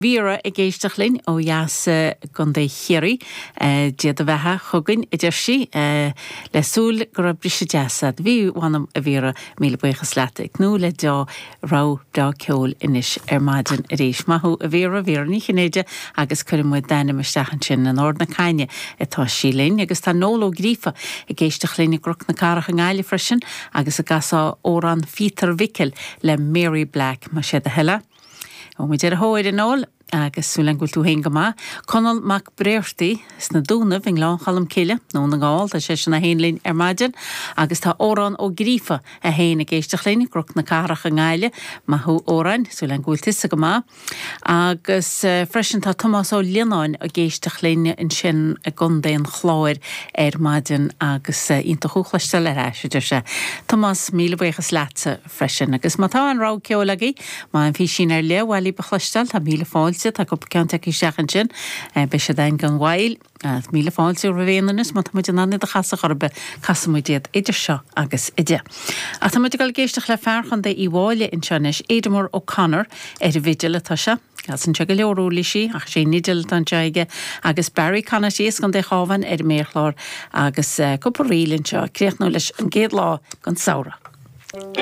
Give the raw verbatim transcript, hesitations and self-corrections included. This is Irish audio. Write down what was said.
Vera ag éisteacht linn ó dheas i gContae Chiarraí Dia do bheatha chugainn a deir sí le súil go raibh briseadh deas agat. Bhí mh'anam a Vera míle buíochas leat ag tnúth le deá-rogha breá ceoil anois ar maidin arís. Maith thú a Vera Vera Ní Chinnéide agus cuirfidh muid d'ainm isteach ansin in Ard na Caithne atá sí linn agus tá Noel Ó Gríofa ag éisteacht linn i gCnoc na Cathrach i nGaillimh freisin agus ag casadh amhrán Phíotair Mhicil le Mary Black más é do thoil é. Ó muid ar a thóir a Noel agus súil agam go bhfuil tú féin go maith. Conall Mac Bréartaí sna Dúnaibh i nGleann Cholm Cille Dún na nGall tá seisean é féin linn ar maidin agus tá Órán Ó Gríofa é féin ag éisteacht linn gCnoc na Cathrach i nGaillimh maith thú Óráin súil agam go bhfuil tusa go maith. Agus uh, freisin tá Tomás Ó Lionáin ag éisteacht linn ansin i gContae an Chláir ar maidin agus uh, iontach thú a chloisteáil ar ais deir sé. Tomás míle buíochas leatsa freisin, agus má tá an rogha ceoil agaibh má an físín ar le bhailí ba chloisteáil tá míle fáilte tá cúpla ceann isteach ansin beidh sé den gan bhaill míle fáilte roimh aon má tá muid in ann iad a chasadh orthu casfaidh muid iad idir seo agus a deich. Ach tá muid ag dul ag éisteacht le fear Chontae Uíbh Fhailí anseo anois Éadmar O'Connor ar an bhfidil atá sé. Casann sé go leor uirlisí ach sé an fhidil atá anseo aige agus Barry Conaty as Contae an Chabháin ar an méarchlár agus uh, cúpla ríl anseo críochnú leis an gcéad lá den samhradh.